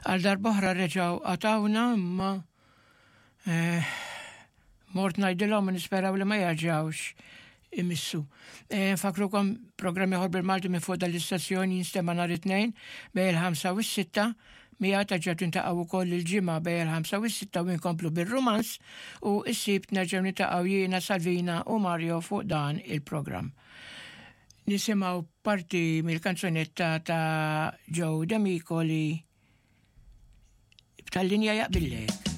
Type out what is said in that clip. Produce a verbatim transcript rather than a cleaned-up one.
Għal darb'oħra reġgħu qatgħuna imma eh, mort ngħidilhom nisperaw li ma jerġgħux imissu. Eh, Nfakkrukom programm ieħor bil-Malti minn fuq dal-istazzjoni jinstema' nhar it-tnejn bejn il-ħamsa u s-sitta mija terġgħu tiltaqgħu wkoll il-ġimgħa bejn il-ħamsa u s-sitta u nkomplu bir-romans u s-sibt nerġgħu niltaqgħu jiena Salvina u Mario fuq dan il-programm. Nisimgħu parti mill-kanzunetta ta' Joe D'Amico li b'tal-linja jaqbillek.